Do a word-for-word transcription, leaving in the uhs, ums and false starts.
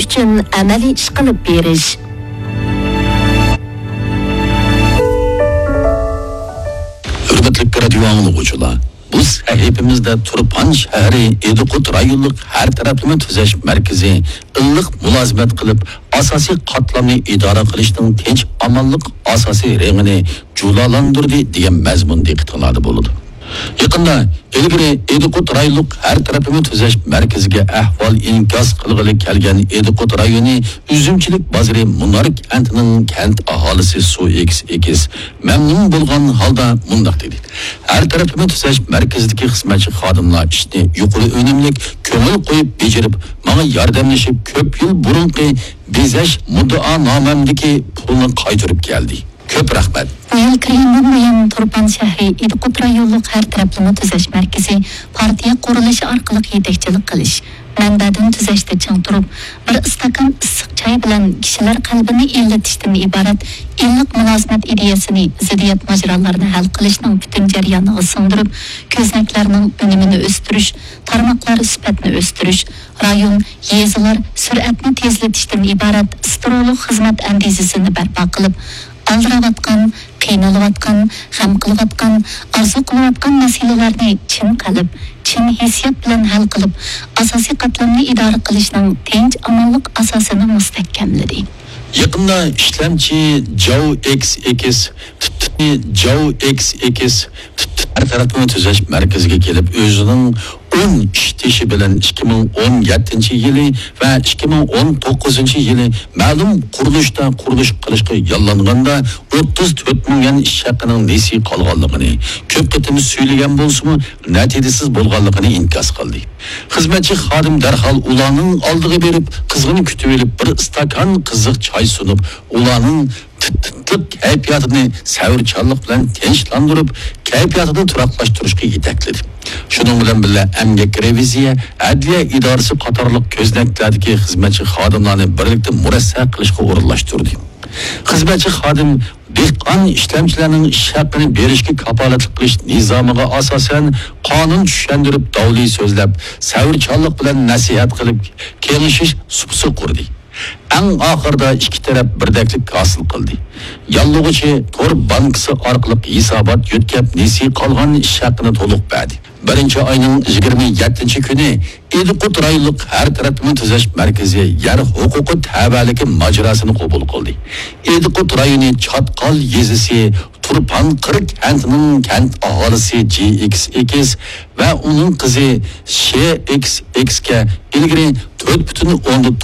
ئۈچۈن ئەمەلىي ئىش قىلىپ بېرىش. ھۆرمەتلىك رادىيو ئاڭلىغۇچىلار، بۇ سەھىپىمىزدە تۇرپان شەھىرى ئىدىقۇت رايونلۇق ھەر تەرەپلىمە تۈزەش مەركىزى ئىللىق مۇلازىمەت قىلىپ، ئاساسىي قاتلامنى ئىدارە قىلىشنىڭ تىنچ-ئامانلىق ئاساسىي رېڭىنى جۇلالاندۇردى دېگەن مەزمۇن دىققىتىڭلاردا بولىدۇ. يېقىندا ئىلگىرى ئىدىقۇت رايونلۇق ھەر تەرەپلىمە تۈزەش مەركىزىگە ئەھۋال ئىنكاس قىلغىلى كەلگەن ئىدىقۇت رايونى ئۈزۈمچىلىك بازىرى مۇنار كەنتىنىڭ كەنت ئاھالىسى سۇ ئېكىس ئېكىس مەمنۇن بولغان ھالدا مۇنداق دېدى: ھەر تەرەپلىمە تۈزەش مەركىزىدىكى خىزمەتچى خادىملار ئىشنى يۇقىرى ئۈنۈملۈك، كۆڭۈل قويۇپ بېجىرىپ، ماڭا ياردەملىشىپ، كۆپ يىل بۇرۇنقى بېزەش مۇددىئانامەمدىكى پۇلنى قايتۇرۇپ كەلدى. كۆپ رەھمەت. بۇ يىل كىرگەندىن بۇيان، تۇرپان شەھىرى ئىدىقۇت رايونلۇق ھەر تەرەپلىمە تۈزەش مەركىزى پارتىيە قۇرۇلۇشى ئارقىلىق يېتەكچىلىك قىلىش، مەنبەدىن تۈزەشتە چىڭ تۇرۇپ، بىر ئىستاكان ئىسسىق چاي بىلەن كىشىلەر قەلبىنى ئىللىتىشتىن ئىبارەت ئىللىق مۇلازىمەت ئىدىيەسىنى زىددىيەت ماجىرالىرىنى ھەل قىلىشنىڭ پۈتۈن جەريانىغا سىڭدۈرۈپ، كۆزنەكلەرنىڭ ئۈنۈمىنى ئۆستۈرۈش، تارماقلار سۈپەتنى ئۆستۈرۈش، رايون، يېزىلار سۈرئەتنى تېزلىتىشتىن ئىبارەت سترولۇق خىزمەت ئەندىزىسىنى بەرپا قىلىپ، ئالدىراۋاتقان، قىينىلىۋاتقان، غەم قىلىۋاتقان، ئارزۇ قىلىۋاتقان مەسىلىلەرنى چىن قەلب، چىن ھېسسىيات بىلەن ھەل قىلىپ، ئاساسىي قاتلامنى ئىدارە قىلىشنىڭ تىنچ، ئامانلىق ئاساسىنى مۇستەھكەملىدى. يېقىندا ئىشلەمچى جاۋ ئېكس ئېكىس، تىت-، تىت-، جاۋ ئېكس ئېكىس، تىت-، تىت-، ھەر تەرەپلىمە تۈزەش مەركىزىگە كېلىپ، ئۆزىنىڭ ئون ئىش تېشى بىلەن ئىككى مىڭ ئون يەتتىنچى يىلى ۋە ئىككى مىڭ ئون توققۇزىنچى يىلى مەلۇم قۇرۇلۇشتا قۇرۇلۇش قىلىشقا ياللانغاندا ئوتتۇز تۆت مىڭ يۈەن ئىش ھەققىنىڭ نېسى قالغانلىقىنى، كۆپ قېتىم سۈيلىگەن بولسىمۇ، نەتىجىسىز بولغانلىقىنى ئىنكاس قىلدى. خىزمەتچى خادىم دەرھال ئۇلارنىڭ ئالدىغا بېرىپ، قىزغىن كۈتۈۋېلىپ، بىر ئىستاكان قىزىق چاي سۇنۇپ، ئۇلارنىڭ تىت-، تىتلىق كەيپىياتىنى سەۋرچانلىق بىلەن تىنچلاندۇرۇپ، كەيپىياتىنى تۇراقلاشتۇرۇشقا يېتەكلىدى. شۇنىڭ بىلەن بىللە، ئەمگەك رېۋىزىيە، ئەدلىيە ئىدارىسى قاتارلىق كۆزنەكلەردىكى خىزمەتچى خادىملارنى بىرلىكتە مۇرەسسە قىلىشقا ئورۇنلاشتۇردى. خىزمەتچى خادىم دېھقان ئىشلەمچىلەرنىڭ ئىش ھەققىنى بېرىشكە كاپالەتلىك قىلىش نىزامىغا ئاساسەن، قانۇن چۈشەندۈرۈپ، داۋلى سۆزلەپ، سەۋرچانلىق بىلەن نەسىھەت قىلىپ، كېڭىشىش سۇپىسى قۇردى. ئەڭ ئاخىرىدا ئىككى تەرەپ بىردەكلىك ھاسىل قىلدى. ياللىغۇچى تور بانكىسى ئارقىلىق ھېسابات يۆتكەپ، نېسى قالغان ئىش ھەققىنى تولۇق بەردى. بىرىنچى ئاينىڭ يىگىرمە يەتتىنچى كۈنى ئىدىقۇت رايونلۇق ھەر تەرەپلىمە تۈزەش مەركىزى يەر ھوقۇقى تەۋەلىكى ماجىراسىنى قوبۇل قىلدى. ئىدىقۇت رايونى چاتقال يېزىسى تۇرپان قىرىك كەنتىنىڭ كەنت ئاھالىسى جى ئېكس ئېكىس ۋە ئۇنىڭ قىزى شې ئېكس ئېكىسكە ئىلگىرى تۆت پۈتۈن ئوندىن